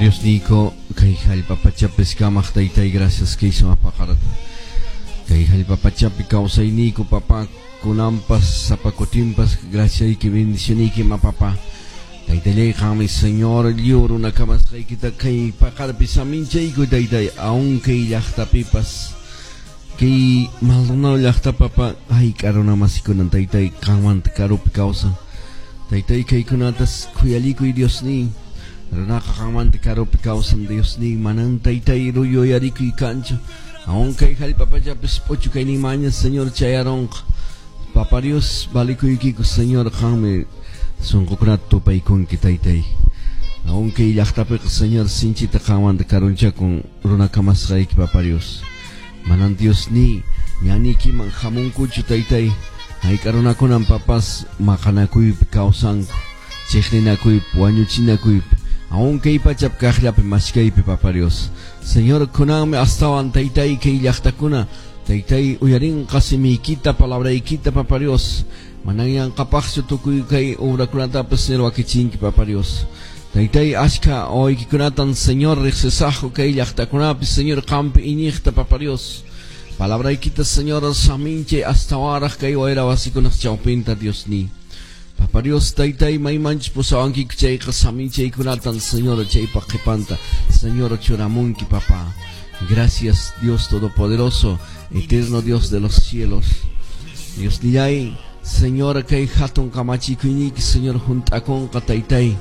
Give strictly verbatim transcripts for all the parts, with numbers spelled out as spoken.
Dios niyku kay hallp'a pachapis kamaq taytay, gracias kay sumaq paqarata. Kay hallp'a pachapi kawsayniyku, papá, kunanpas sapa kutinpas graciayki, bendicioniyki ma, papá. Taytallay, qanmi, Señor, lliw runa kamasqaykita kay paqarpi saminchayku, taytay, aun kay llaqtapipas kay Maldonado llaqta, papá, hayk'a runa masikunan, taytay, qanmanta karupi kawsan. Taytay, kaykunatas khuyalikuy, Dios niy. Runaqa qanmanta karupi kawsan, Dios niy, manan, taytay, yuyarikuy kanchu. Aun kay hallp'a pachapis p'uchukayninmanña, Señor, chayarunqa. Papa Dios, valikuykiku, Señor, qanmi sunqukunata tupaykunki, taytay. Aun kay llaqtapiqa, Señor, sinchita qanmanta karunchakun runa kamasqayki, Papa Dios. Manan, Dios niy, ñaniykiman hamunkuchu, taytay. Hayk'a runakunan, papas, maqanakuypi kawsanku, chiqninakuypi, wañuchinakuypi, aun kay pachap kaqllapi mashkaypi, Papa Dios. Señor, kunanmi astawan, taytay, kay llaqtakuna, taytay, uyarinqa simiykita, palabraykita, Papa Dios. Manan yanqapaqchu tukuy kay obrakunatapas, Señor, wakichinki, Papa Dios. Taytay, ashka wawaykikunatan, Señor, riqsisaqku kay llaqtakunapi, Señor, qampi iñiqta, Papa Dios. Palabraykita, Señor, saminchay astawanraq kay wayra wasikunaq chawpinta, Dios niy. Papa Dios, taytay, maymanchus pusawankiku chayqa saminchaykunatan, Señor, chaypaq qhipanta, Señor, churamunki, papá. Gracias, Dios Todopoderoso, eterno Dios de los cielos. Dios nillay, Señor, kay hatun kamachikuyniyki, Señor, hunt'akunqa, taytay.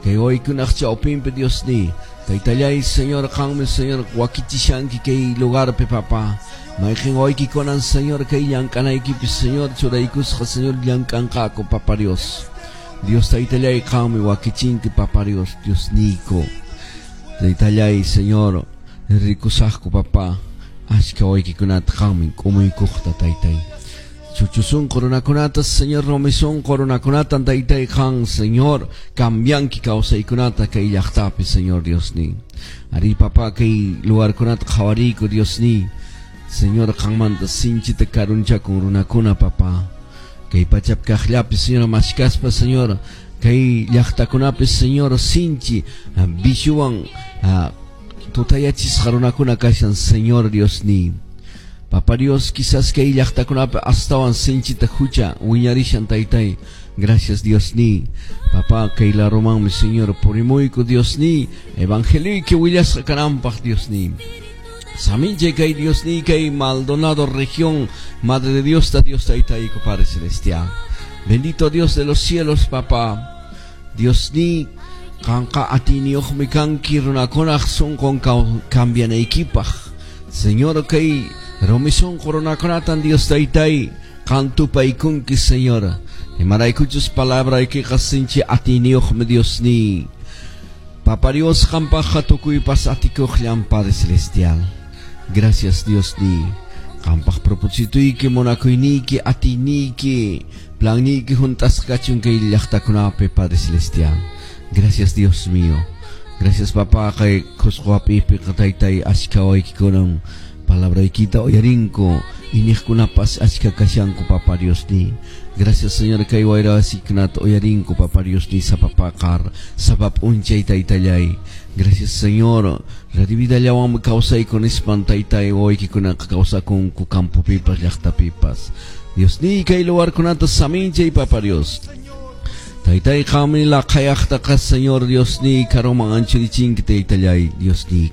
Kay waykunaq chawpinpi, Dios niy. Taytallay, Señor, qanmi, Señor, wakichishanki kay lugarpi, papá. Mayqin waykikunan, Señor, kay llank'anaykipi, Señor, churaykusqa, Señor, llank'anqaku, Papa Dios. Dios taytallay, qanmi wakichinki, Papa Dios, Dios niyku. Taytallay, Señor, rikusaqku, papá, ashka waykikunata qanmi k'umuykuqta, taytay. Chuchusunqu runakunata, Señor, rumisunqu runakunata, taytay, qan, Señor, cambianki kawsaykunata kay llaqtapi, Señor Dios niy. Ari, papá, kay lugarkunata qhawariyku, Dios niy. Señor, qanmanta sinchita karunchakun runakuna, papá. Kay pachap kaqllapi, Señor, mashkaspa, Señor, kay llaqtakunapi, Señor, sinchi viciowan tutayachisqa runakuna kashan, Señor Dios niy. Papa Dios, quizás kay llaqtakunapi astawan sinchita hucha wiñarishan, taytay. Gracias, Dios niy. Papá, kay larumanmi, Señor, purimuyku, Dios niy. Evangelioyki willasqa kananpaq, Dios niy. Saminche kay Dios niy kay Maldonado región, Madre de Dios, ta Dios taytayku, Padre Celestial. Bendito Dios de los cielos, papá. Dios niy, qanqa atiyniyuqmi kanki runakunaq sunqun cambianaykipaq. Señor, kay rumi sunqu runakunatan, Dios taytay, qan tupaykunki, Señor. Imaraykuchus palabraykiqa sinchi atiyniyuqmi, Dios niy. Papa Dios, qampaqqa tukuypas atikuqllan, Padre Celestial. Gracias, Dios niy. Qampaq propósitoyki, munakuyniyki, atiyniyki, planniyki hunt'asqa kachun kay llaqtakunapi, Padre Celestial. Gracias, Dios mío. Gracias, papá, kay Qusqu hap'iypiqa, taytay, ashka waykikunan palabraykita uyarinku, iñiqkunapas ashka kashanku, Papa Dios niy. Gracias, Señor, kay wayra wasikunata uyarinku, Papa Dios niy, sapa paqar, sapa p'unchay, taytallay. Gracias, Señor. Radio Vidallawanmi kawsayku nispan, taytay, wawaykikunaqa kawsakunku campopipas, llaqtapipas. Dios niy, kay lugarkunata saminchay, Papa Dios. Taytay, qanmi laqhayaqtaqa, Señor Dios niy, karuman anchurichinki, taytallay, Dios niy.